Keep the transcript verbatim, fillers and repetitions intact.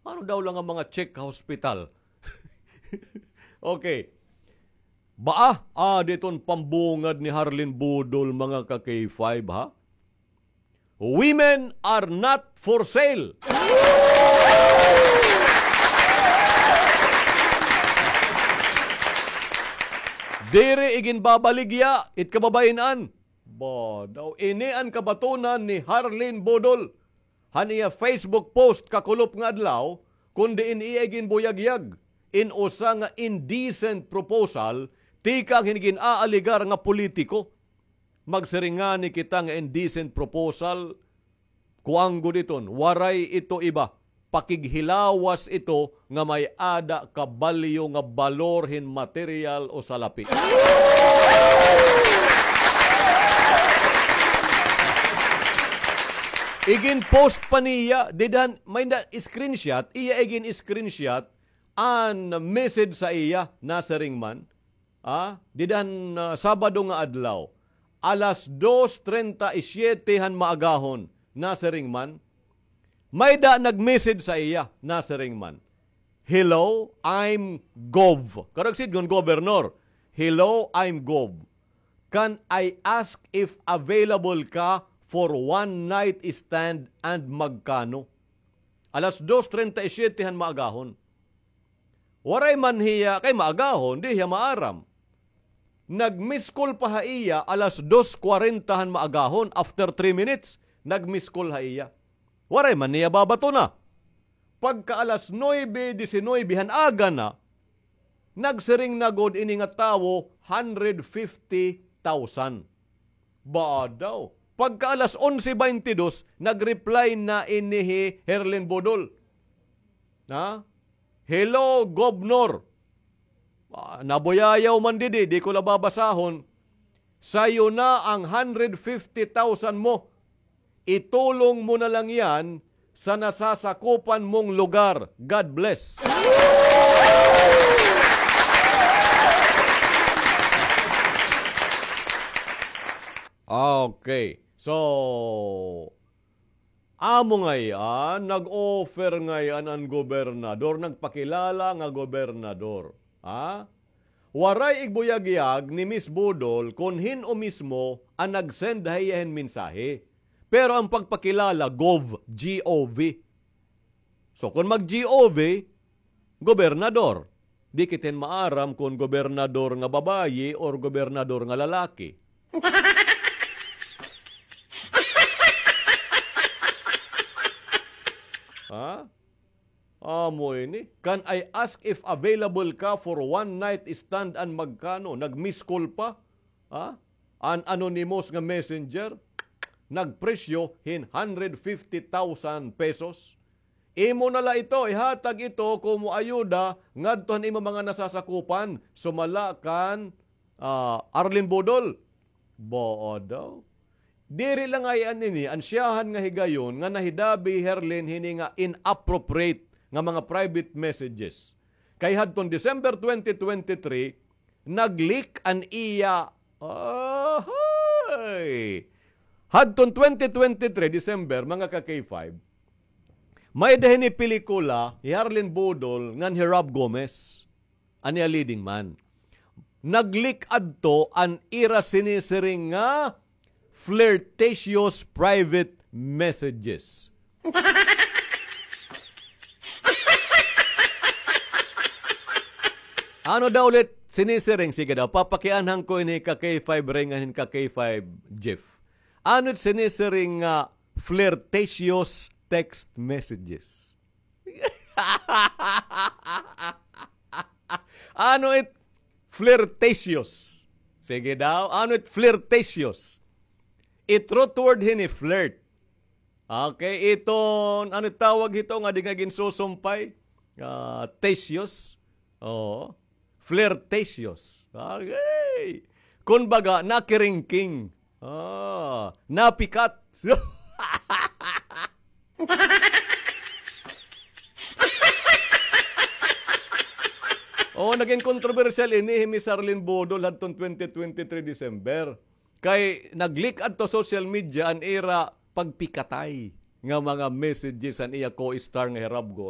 Ano daw la nga mga check ha hospital? Okay. Baa, ah, diton pambungad ni Harlene Budol, mga ka-K five, ha? Women are not for sale. Diri iginbabaligya it kababayen-an. Ba, daw ini an kabatonan ni Harlene Budol. Han iya Facebook post kakulop nga adlaw, kon diin iya iginbuyagyag in usa nga indecent proposal tikang hin gin-aaligar nga politiko. Magsiring ngani kita nga indecent proposal, kuan gud iton, waray ito iba, pakighilawas ito nga may-ada kabalyo nga balor hin material o salapi. Igin-post pa niya, dida han, may na-screenshot, iya igin-screenshot an message sa iya, nasiring man, ah, dida han, ah, Sabado nga adlaw, alas dos treinta y siete han maagahon, nasiring man, may-ada nag-message sa iya, nasiring man, "Hello, I'm Gov." Karuyag sidngon gobernador. "Hello, I'm Gov. Can I ask if available ka for one night stand and magkano?" Alas dos treinta y siete han maagahon. Waray man hiya, kay maagahon, di hiya maaram. Nag-miss call pa ha iya alas dos kwarenta han maagahon, after three minutes, nag-miss call ha iya. Waray man niya babatona. Pagka alas nuebe disinuybe han aga na, nagsiring na gud ini nga tawo, hundred fifty thousand. Ba daw. Pagka alas onse baynte dos, nag-reply na ini hi Herlin Budol. Ha? "Hello, Govnor." Ah, nabuyayaw man didi, di ko la babasahon. "Sayo na ang hundred fifty thousand mo. Itulong mo na lang yan sa nasasakupan mong lugar. God bless." Okay. So, amo ngay-an, nag-offer ngay-an an gobernador, nagpakilala nga gobernador. Ha? Waray igbuyagyag ni Miss Budol kon hin-o mismo an nag-send ha iya hin mensahe. Pero an pagpakilala, Gov, G O V. So, kon mag-G O V, gobernador. Di kita hin maaram kon gobernador nga babayi or gobernador nga lalaki. Ha? Amo ini. "Can I ask if available ka for one night stand and magkano?" Nag-miss call pa. Ha? An anonymous nga messenger, nagpresyo hin hundred fifty thousand pesos. "Imo na la ito, ihatag ito komo ayuda ngadto han imo mga nasasakupan, sumala kan, ah, Arlene Budol." Baa daw. Diri la ngay-an ini an siyahan nga higayon nga nahidabi hi Herlin hini nga inappropriate nga mga private messages. Kay hadton December twenty twenty-three, nag-leak an iya, ahay! Hadton twenty twenty-three, December, mga ka-K five, may-ada hini pelikula hi Harlin Budol ngan hi Rob Gomez, an iya leading man. Nag-leak adto an ira sinisiring nga flirtatious private messages. Ano daw ulit sinisiring? Sige daw, papakianhan ko ini ka-K five Ray ngan hin ka-K five Jeff. Ano it sinisiring nga flirtatious text messages? Ano it flirtatious? Sige daw, ano it flirtatious? It root word hini flirt. Okay, iton, ano it tawag hito nga di nga ginsusumpay? Ah, tatious. Oo. Flirtatious. Okay. Kumbaga, nakiringking. Ah, napikat. Oh, naging kontrobersyal ini hi Miss Arlene Budol hadton twenty twenty-three December. Kay nag-leak adto social media an ira pagpikatay nga mga messages an iya co-star nga hi Rob Gomez.